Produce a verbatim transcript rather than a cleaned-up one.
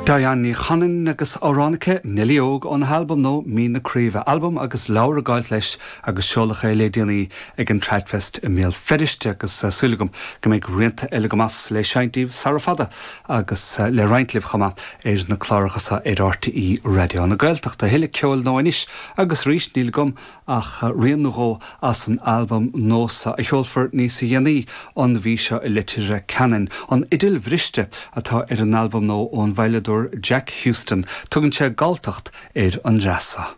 Diane Ní Chanainn agus amhrán aici Neilí Óg ón albam nua Mín na Craoibhe albam agus leabhar ag gabháil leis agus seoladh é le déanaí ag an Tradfest i mBéal Feirste agus eh, súil agam go mbeidh rianta eile go mas le seinnt daoibh sara fada agus eh, le roinnt libh chomh maith ar na cláracha seo ar RTÉ Raidió na Gaeltachta tuilleadh ceoil nó anois agus arís níl agam ach eh, rian nó dhó as an albam nua a sheolfar níos déanaí an mhí seo i Leitir Ceanainn. An Fhidil Bhriste atá ar an albam nua ón veidhleadóir Jack Houston, tugann sé Galltacht ar an dreasa.